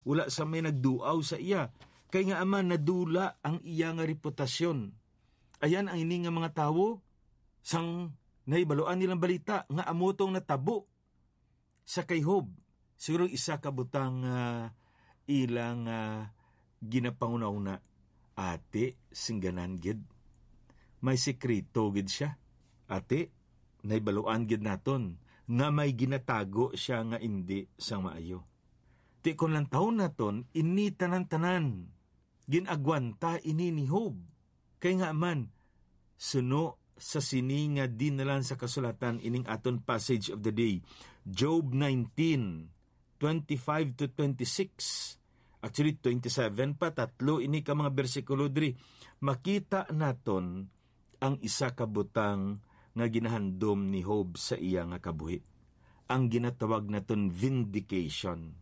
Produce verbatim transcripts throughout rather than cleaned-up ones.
Wala sa may nagduaw sa iya, kay nga man nadula ang iya nga reputasyon. Ayan ang ini nga mga tawo, sang nahibaluan nilang balita nga amo tong natabo sa kay Job. Siguro isa ka butang, ah, ilang, ah, ginapanghunahuna, "Ati, singganan gid. May sikreto gid sia. Ati, nahibaluan gid naton nga may ginatago sia nga indi sang maayo." Ti kon lantawon naton, ini tanan-tanan gin-agwanta ini ni Job. Kay nga man, suno sa sini nga dinalan sa kasulatan, ining aton passage of the day, Job nineteen, twenty-five to twenty-six. Actually, twenty-seven pa, tatlo ini ka mga bersikulo diri. Makita naton ang isa ka butang nga ginahandom ni Job sa iya nga kabuhi, ang ginatawag naton vindication.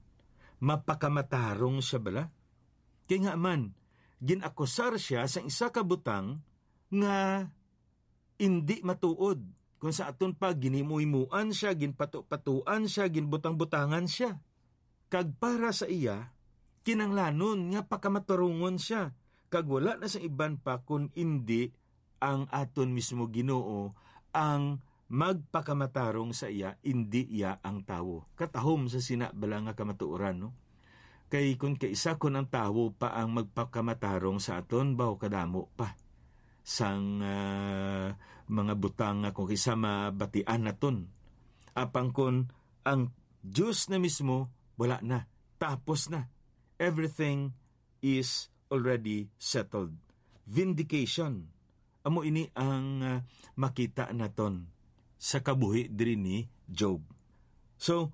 Mapakamatarong siya bala? Kay nga man, gin-akusar siya sa isa ka butang nga indi matuod, kung sa aton pa, ginhimuhimuan siya, ginpato-patuan siya, ginbutang-butangan siya. Kag para sa iya, kinanglanon nga pakamatarungon siya, kag wala na sa iban pa kun indi ang aton mismo Ginoo ang magpakamatarong sa iya, indi iya ang tawo. Katahom sa sina bala nga kamatuoran, no? Kay kun kaisa kun ang tawo pa ang magpakamatarong sa aton, baw kadamo pa sang, ah, mga butang nga kung kisa mabatian naton. Apang kun ang Dios na mismo, wala na. Tapos na. Everything is already settled. Vindication. Amo ini ang, ah, makita naton sa kabuhi diri ni Job. So,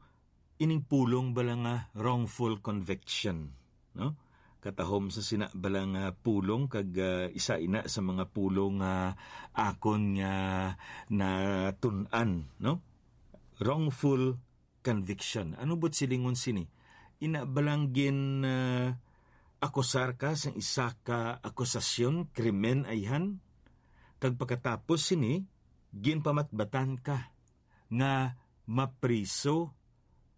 ining pulong bala nga wrongful conviction, no? Katahom sa sina bala nga pulong kag, ah, isa ina sa mga pulong nga akon nga natun-an, no? Wrongful conviction. Ano bu't silingon sini? Ina balang gin, ah, akusar ka sang isa ka akusasyon, krimen ayhan, kag pagkatapos sini, ginpamatbatan ka nga mapriso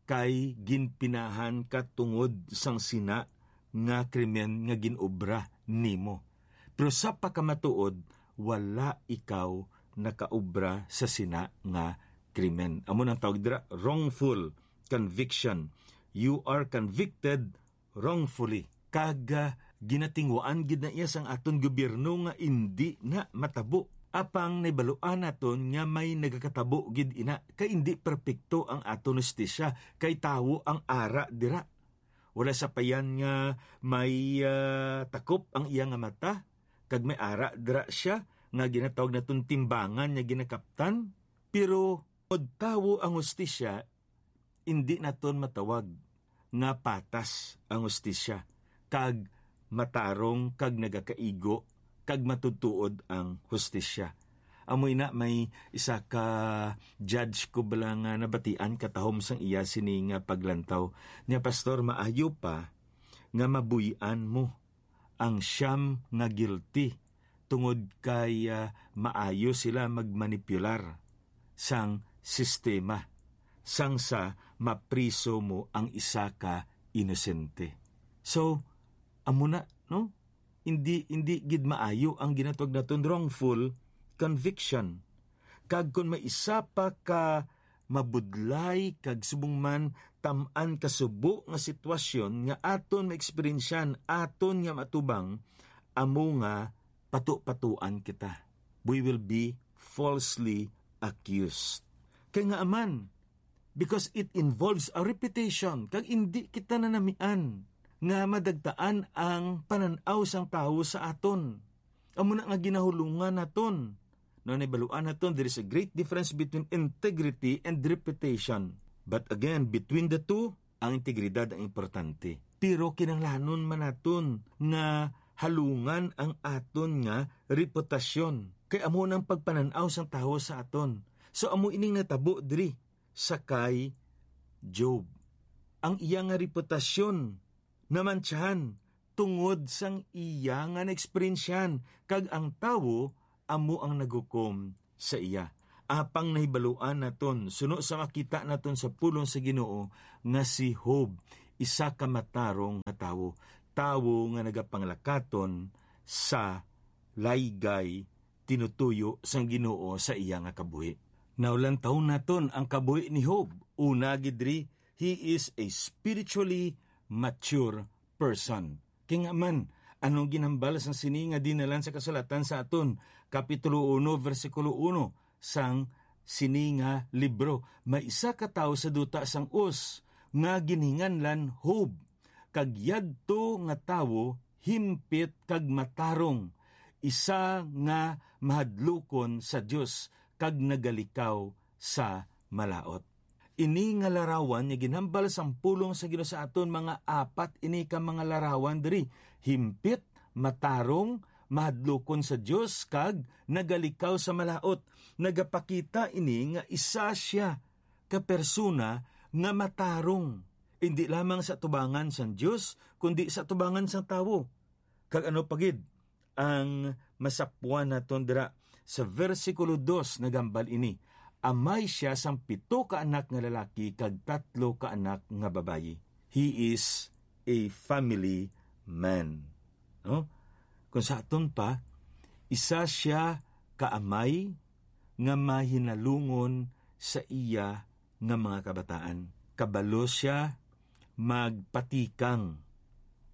kay ginpinahan ka tungod sang sina nga krimen nga gin-obra nimo. Pero sa pagkamatuod, wala ikaw nakaobra sa sina nga krimen. Amo nang tawag dira, wrongful conviction. You are convicted wrongfully. Kag, ah, ginatinguhaan gid na iya sang aton gobyerno nga indi na matabo. Apang nahibaluan naton nga may nagakatabo gid ina, kay indi perpekto ang aton hustisya, kay tawo ang ara dira. Wala sapayan nga may, ah, takop ang iya nga mata, kag may ara dira sia nga ginatawag naton timbangan nga ginakaptan. Pero kon tawo ang hustisya, indi naton matawag nga patas ang hustisya, kag matarong, kag nagakaigo, kag matutuod ang hustisya. Amoy na may isa ka judge ko bala nga nabatian katahom sang iya sini nga paglantaw niya, "Pastor, maayo pa nga mabuy-an mo ang siyam nga guilty, tungod kay, ah, maayo sila magmanipular sang sistema, sang sa mapriso mo ang isa ka inosente." So, amo na, no? Hindi, hindi gid maayo ang ginatawag naton wrongful conviction. Kag kon may isa pa ka mabudlay kag subong man tam-an kasubo nga sitwasyon nga aton maeksperiensyan, aton nga matubang, amo nga pato-patuan kita. We will be falsely accused. Kay nga aman, because it involves our reputation, kag indi kita nanamian nga madagtaan ang panan-aw sang tawo sa aton. Amo na nga ginahulungan naton. No, nahibaluan naton, there is a great difference between integrity and reputation. But again, between the two, ang integridad ang importante. Pero kinahanglanon man naton nga halungan ang aton nga reputasyon. Kay amo nang pagpanan-aw sang tawo sa aton. So, amo ining natabo diri sa kay Job. Ang iya nga reputasyon namantsahan tungod sang iya nga naeksperiensyahan, kag ang tawo amo ang naghukom sa iya. Apang nahibaluan naton, suno sa makita naton sa pulong sa Ginoo, nga si Job isa ka matarong nga tawo, tawo nga nagapanglakaton sa laygay tinutuyo sang Ginoo sa iya nga kabuhi. Now, lantawon naton ang kabuhi ni Job. Una gid diri, he is a spiritually mature person. Kay nga man, anong ginhambal sang sini nga dinalan sa kasulatan sa aton? Kapitulo uno, bersikulo uno sang sini nga libro, may isa ka tawo sa duta sang Uz nga ginhinganlan Job, kag yadto nga tawo himpit kag matarong, isa nga mahadlukon sa Dios kag nagalikaw sa malaut. Ini nga larawan nga ginhambal sang pulong sa Ginoo sa aton, mga apat ini ka mga larawan diri: himpit, matarong, mahadlukon sa Dios, kag nagalikaw sa malaut. Nagapakita ini nga isa sia ka persona nga matarong, indi lamang sa atubangan sang Dios, kundi sa atubangan sang tawo. Kag ano pa gid ang masapwan naton dira sa bersikulo dos? Nagambal ini: Amay sia sang pito ka anak nga lalaki kag tatlo ka anak nga babayi. He is a family man. No? Kung sa aton pa, isa sia ka amay nga mahinalungon sa iya nga mga kabataan. Kabalo sia magpatikang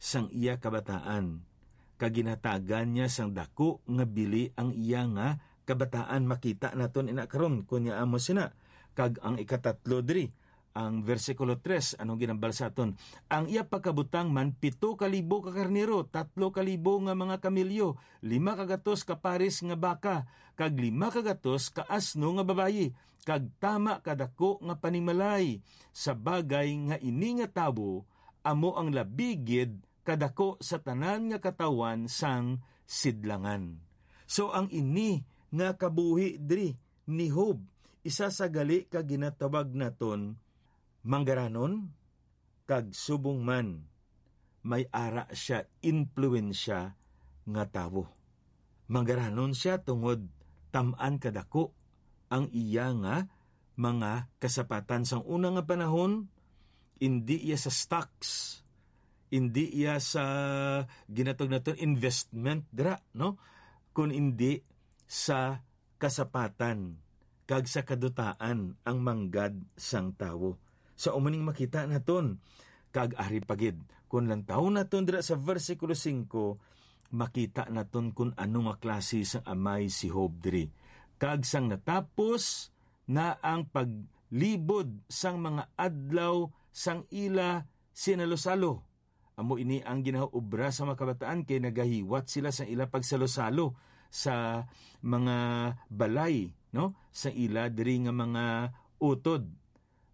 sang iya kabataan, kag ginhatagan niya sang daku nga bili ang iya nga kabataan. Makita naton ina karon kon niya amo sina. Kag ang ikatatlo diri, ang bersikulo tres, anong ginambal sa aton? Ang iya pagkabutang man, pito ka libo ka karnero, tatlo ka libo nga mga kamilyo, lima ka gatos ka pares nga baka, kag lima ka gatos ka asno nga babayi, kag tama kadako nga panimalay, sa bagay nga ini nga tawo amo ang labi gid kadako sa tanan nga katawhan sang sidlangan. So, ang ini nga kabuhi diri ni Job, isa sa gali ka ginatawag naton manggaranon, kag subong man may ara sia impluwensya nga tawo. Manggaranon sia tungod tam-an kadako ang iya nga mga kasapatan. Sang una nga panahon, indi iya sa stocks, indi iya sa ginatawag naton investment dira, no? Kun indi sa kasapatan kag sa kadutaan ang manggad sang tawo. Sa umuning makita naton, kag ari pa gid, kun lantawon naton dira sa bersikulo singko, makita naton kun ano nga klase sang amay si Job diri. Kag sang natapos na ang paglibod sang mga adlaw sang ila sinalosalo, amo ini ang ginaobra sa mga kabataan, kay nagahiwat sila sa ila pagsalosalo sa mga balay, no, sa ila diri nga mga utod.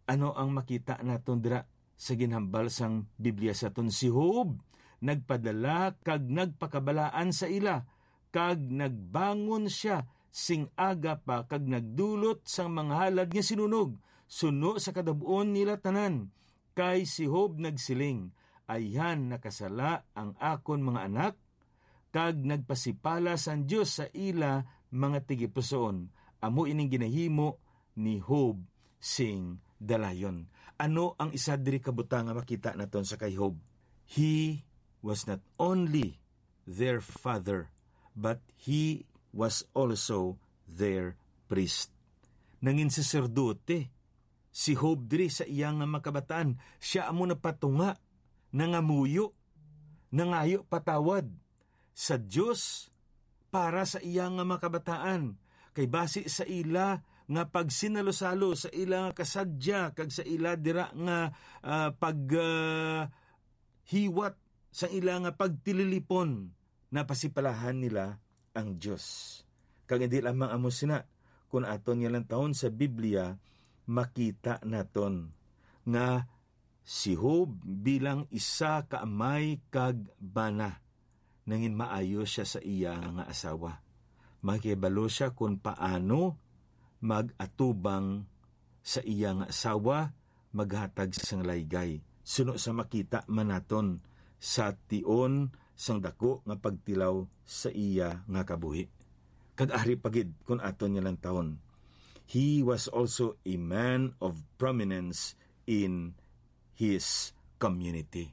Ano ang makita naton dira sa ginhambal sang Biblia sa aton? Si Job nagpadala kag nagpakabalaan sa ila, kag nagbangon sia sing aga pa kag nagdulot sang mga halad nga sinunog suno sa kadab-on nila tanan. Kay si Job nagsiling, "Ayhan nakasala ang akon mga anak, kag nagpasipala sang Dios sa ila mga tigipusoon." Amo ining ginahimo ni Job sing dalayon. Ano ang isa diri ka butang nga makita naton sa kay Job? He was not only their father, but he was also their priest. Nangin saserdote si Job diri sa iya nga makabataan. Siya amo napatunga, nangamuyo, nangayo patawad sa Dios para sa iya nga makabataan. Kay basi sa ila nga pagsinalosalo, sa ila nga kasadya, kag sa ila dira nga, ah, pag, ah, hiwat, sa ila nga pagtililipon, napasipalahan nila ang Dios. Kag hindi lamang amo sina, kun aton nga lantawon sa Biblia, makita naton nga si Job bilang isa ka amay kag bana, nangin maayo sia sa iya nga asawa. Makibalo sia kon paano mag-atubang sa iya nga asawa, maghatag sang laygay, suno sa makita man naton sa tion sang daku nga pagtilaw sa iya nga kabuhi. Kag ari pa gid kun aton nga lantawon, he was also a man of prominence in his community.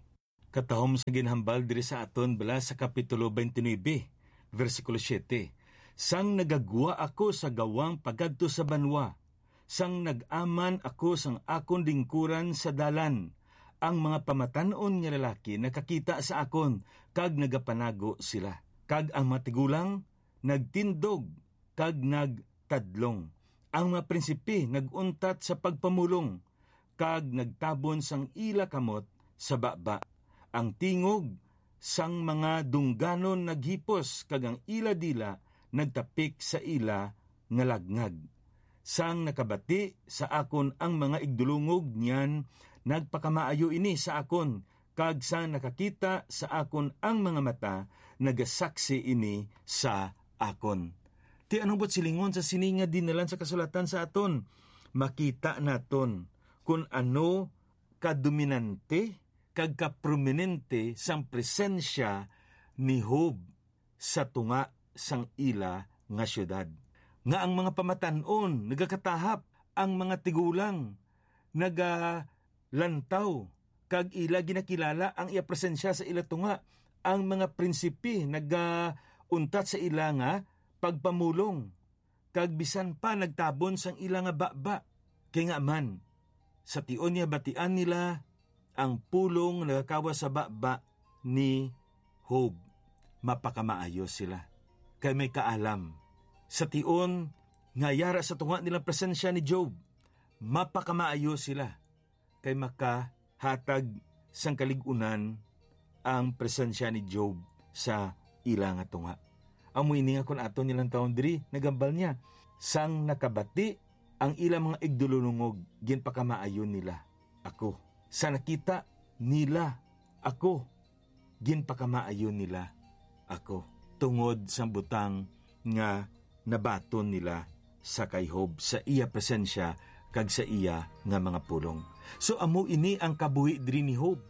Katahom sa ginhambal diri sa aton bala sa Kapitulo twenty-nine, versikulo siete, "Sang nagagwa ako sa gawang pagadto sa banwa, sang nag-aman ako sang akon lingkuran sa dalan, ang mga pamatan-on nga lalaki nakakita sa akon, kag nagapanago sila, kag ang mga tigulang nagtindog kag nagtadlong. Ang mga prinsipe nag-untat sa pagpamulong, kag nagtabon sang ila kamot sa baba. Ang tingog sang mga dungganon naghipos, kag ang ila dila nagtapik sa ila nga lagngag. Sang nakabati sa akon ang mga igdulungog niyan, nagpakamaayo ini sa akon, kag sang nakakita sa akon ang mga mata, nagasaksi ini sa akon." Ti ano buot silingon sa sini nga dinalan sa kasulatan sa aton? Makita naton kon ano kadominante kag kaprominente sang presensya ni Job sa tunga sang ila nga siyudad, nga ang mga pamatan-on nagakatahap, ang mga tigulang nagalantaw, kag ila ginakilala ang iya presensya sa ila tunga. Ang mga prinsipe nagauntat sa ila nga pagpamulong, kag bisan pa nagtabon sang ila nga baba. Kay nga man, sa tion niya batian nila ang pulong nga nagakawas sa baba ni Job, mapakamaayo sila, kay may kaalam. Sa tion nga yara sa tunga nilang presensya ni Job, mapakamaayo sila, kay makahatag sang kalig-unan ang presensya ni Job sa ila nga tunga. Amo ini nga kon aton nilang tawon diri, nagambal niya, "Sang nakabati ang ila mga igdulunungog, ginpakamaayo nila ako. Sa nakita nila ako, ginpakamaayo nila ako." Tungod sang butang nga nabaton nila sa kay Job, sa iya presensya, kag sa iya nga mga pulong. So, amo ini ang kabuhi diri ni Job.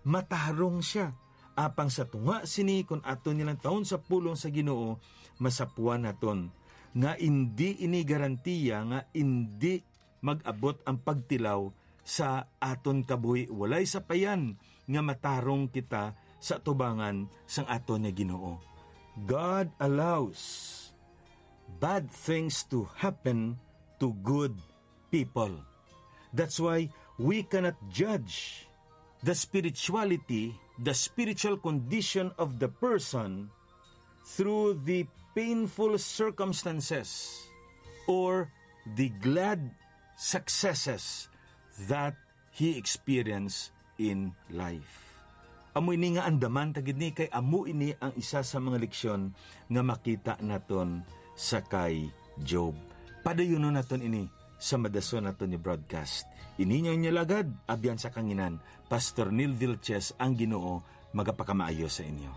Matarong siya. Apang sa tunga sini, kon aton nilang tawon sa pulong sa Ginoo, masapuan naton nga indi ini garantiya nga indi mag-abot ang pagtilaw sa aton kabuhi. Walay sapayan nga matarong kita sa atubangan sang aton nga Ginoo. God allows bad things to happen to good people. That's why we cannot judge the spirituality, the spiritual condition of the person through the painful circumstances or the glad successes that he experienced in life. Amo ini nga andaman ta gid ni, kay amo ini ang isa sa mga leksyon nga makita naton sa kay Job. Padayunon naton ini sa madason naton nga broadcast. Ini nga inyo lagad, abyan sa kanginan, Pastor Neil Vilches, ang Ginoo magapakamaayo sa inyo.